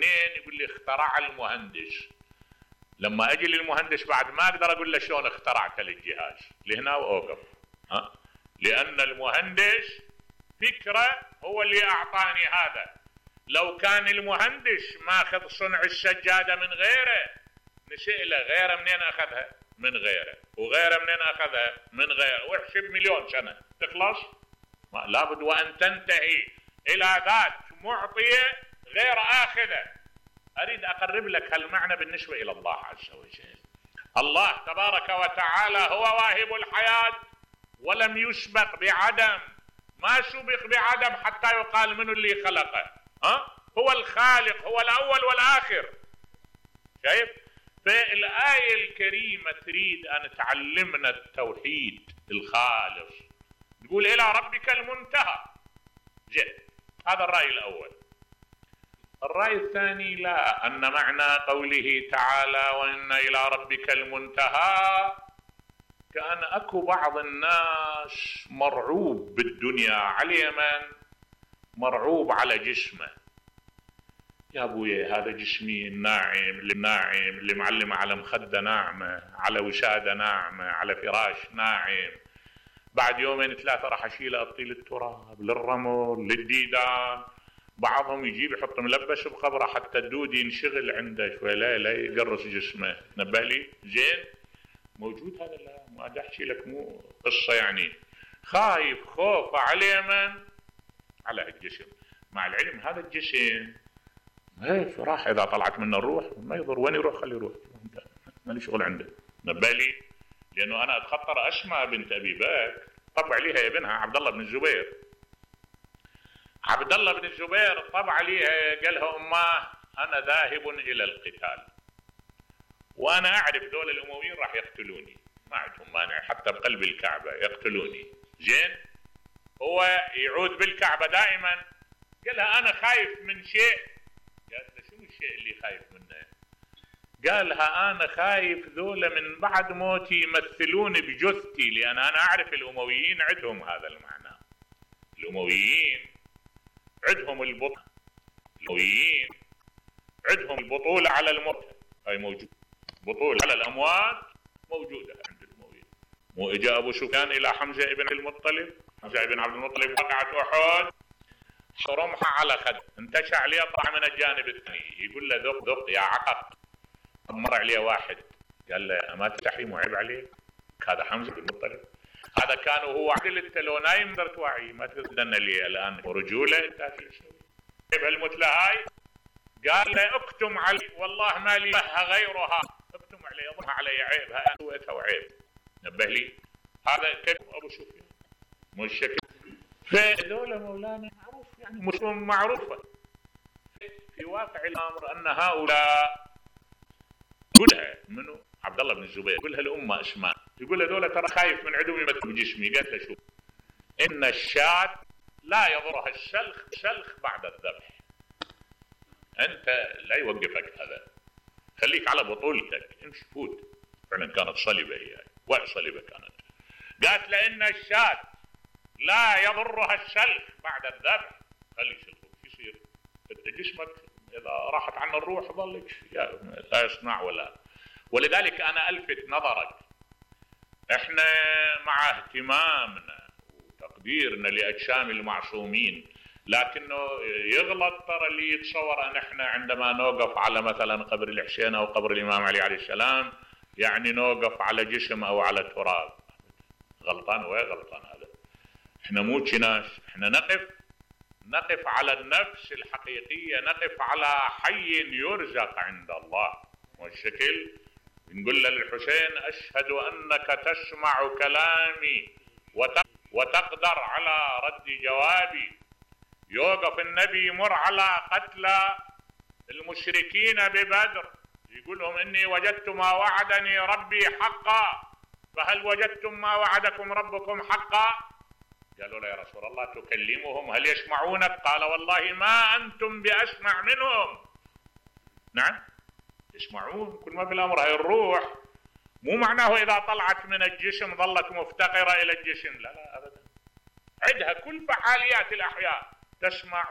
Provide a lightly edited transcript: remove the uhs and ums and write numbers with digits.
منين؟ يقول لي اخترع المهندس. لما اجي للمهندس بعد ما اقدر اقول له شلون اخترعت الجهاز، لهنا واوقف. لان المهندس فكره هو اللي اعطاني هذا. لو كان المهندس ماخذ صنع السجاده من غيره، نسأله غيره منين اخذها؟ من غيره، وغيره منين اخذها؟ من غيره، واحسب مليون سنه تخلص. لابد وان تنتهي الى ذات معطيه غير اخذه. اريد اقرب لك هالمعنى بالنسبه الى الله عز وجل. الله تبارك وتعالى هو واهب الحياه ولم يسبق بعدم، ما سبق بعدم حتى يقال منه اللي خلقه. هو الخالق، هو الاول والاخر. شايف؟ فالآية الكريمة تريد أن تعلمنا التوحيد الخالص. تقول إلى ربك المنتهى. هذا الرأي الأول. الرأي الثاني لا، أن معنى قوله تعالى وإن إلى ربك المنتهى كأن أكو بعض الناس مرعوب بالدنيا على من؟ مرعوب على جسمه. يا ابويا هذا جسمي الناعم اللي معلمه على مخده ناعمه، على وساده ناعمه، على فراش ناعم، بعد يومين ثلاثه راح اشيله اطيل التراب للرمل للديدان. بعضهم يجيب يحط ملبس بقبره حتى الدود ينشغل عنده شوي، لا يقرص جسمه. نبه لي زين موجود هذا؟ لا ما احكي لك، مو قصه يعني. خايف خوف على من؟ على الجسم. مع العلم هذا الجسم هيك راح، اذا طلعت منه الروح ما يضر، وين يروح خليه يروح، مالي شغل عنده. نبالي، لانه انا اتخطر اسماء بنت ابي بكر طبع عليها ابنها عبد الله بن الزبير. عبد الله بن الزبير طبع عليها قال لها اماه انا ذاهب الى القتال، وانا اعرف دول الامويين راح يقتلوني، ما عندهم مانع حتى بقلب الكعبه يقتلوني. زين، هو يعود بالكعبه دائما. قال لها انا خايف من شيء. قالت له شنو الشيء اللي خايف منه؟ قال لها انا خايف ذولا من بعد موتي يمثلوني بجثتي، لان انا اعرف الامويين عندهم هذا المعنى. الامويين عندهم البطل، الامويين عندهم البطوله على الموت، هاي موجود، بطوله على الاموات موجوده عند الامويين. مو اجا ابو سفيان الى حمزه ابن المطلب، حمزه ابن عبد المطلب وقعت احد، رمحه على خد، انتشع عليه طلع من الجانب الثاني، يقول له ذق ذق يا عقق. مر عليه واحد قال له ما تستحي مو عيب عليك؟ هذا حمزه بن المطلب، هذا كان وهو عدل، انت لو نايم تقدر توعي، ما تقدر تدنا لي الان رجوله انت شو تسوي؟ بهالمثله هاي قال له اكتم علي والله ما لي غيرها، اكتم علي اظهر علي عيبها انا سويتها وعيب. نبه لي هذا كيف ابو سفيان مو الشكل. فهذول مولانا معروف يعني مسلم معروفه. في واقع الامر ان هؤلاء قلها منو؟ عبد الله بن الزبير، قلها الامه اسماء، يقول هذول ترى خايف من عدو يمثل بجسمي. قالت له شوف، ان الشاة لا يضرها الشلخ بعد الذبح. انت لا يوقفك هذا، خليك على بطولتك، امشي فوت. فعلا كانت صلبه هي، وعي صلبه كانت. قالت له ان الشاة لا يضرها الشلخ بعد الذبح، خلي شلخك شو يصير؟ انت جسمك اذا راحت عنه الروح ظلك لا يصنع ولا. ولذلك انا الفت نظرك، احنا مع اهتمامنا وتقديرنا لاجسام المعصومين، لكنه يغلط ترى اللي يتصور ان احنا عندما نوقف على مثلا قبر الحسين او قبر الامام علي عليه السلام يعني نوقف على جسم او على تراب. غلطان وين غلطان هذا. احنا مو ناس، احنا نقف على النفس الحقيقيه، نقف على حي يرزق عند الله. والشكل نقول للحسين اشهد انك تسمع كلامي وتقدر على رد جوابي. يوقف النبي يمر على قتلى المشركين ببدر يقول لهم اني وجدت ما وعدني ربي حقا، فهل وجدتم ما وعدكم ربكم حقا؟ قالوا له يا رسول الله تكلمهم هل يسمعونك؟ قال والله ما انتم باسمع منهم. نعم يسمعون، كل ما في الامر هاي الروح مو معناه اذا طلعت من الجسم ظلت مفتقره الى الجسم، لا ابدا، عندها كل فعاليات الاحياء، تسمع